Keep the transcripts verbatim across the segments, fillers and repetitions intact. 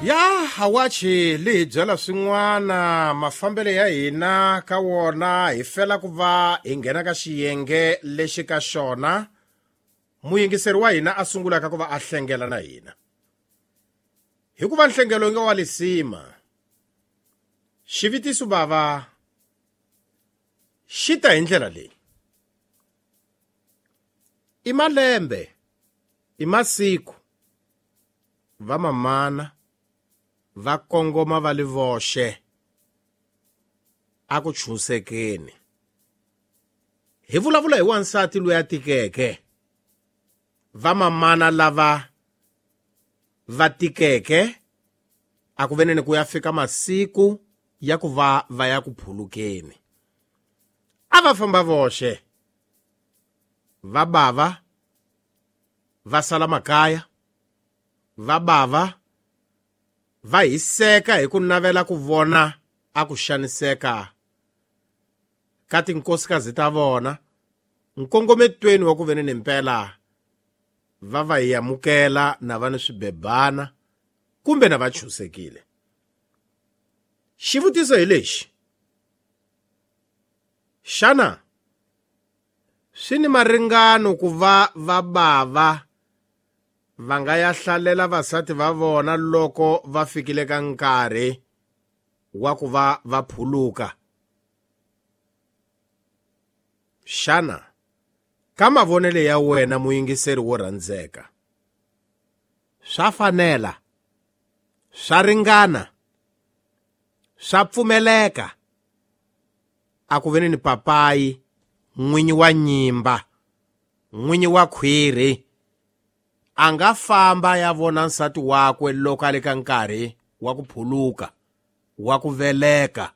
Ya hawachi li hi byela swin'wana mafambelo ya hina ka wona hi fela ku va hi nghena ka xiyenge lexi ka xona muyingiseri wa hina a sungulaka ku va a hlengela na hina hikuva nhlengelo nga wa lisima xivutiso bava xi ta hi ndlela leyi i malembe i masiku va mamana va kongoma va li voxe a ku chunsekeni hi vulavula hi wansati loyi a tikeke va mamana lava va tikeke a ku veneni ku ya fika masiku ya ku va va ya ku phulukeni a va famba voxe va bava va sala makaya va bava va hiseka hi ku navela ku vona a ku xaniseka ka tinkosikazi ta vona nkongometweni wa ku veneni mpela va va hi amukela na va ni swibebana kumbe na va chusekile xivutiso hi lexi xana swi ni maringano ku va va bava va nga ya hlalela vasati va vona loko va fikile ka nkarhi wa ku va va phuluka xana ka mavonelo ya wena muyingiseri wo rhandzeka swa fanela swa ringana swa pfumeleka a ku veni ni papayi n'winyi wa nyimba n'winyi wa khwiri a nga famba ya vona nsati wakwe loko a le ka nkarhi wa ku phuluka wa ku veleka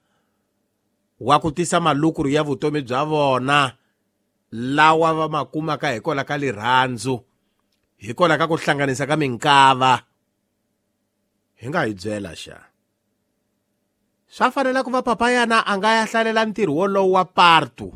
wa ku tisa malukuru ya vutomi bya vona lawa va ma kumaka hikwalaho ka lirhandzu hikwalaho ka ku hlanganisa ka minkava hi nga hi byela xa swa fanela ku va papayana a nga ya hlalela ntirho wolowo wa partu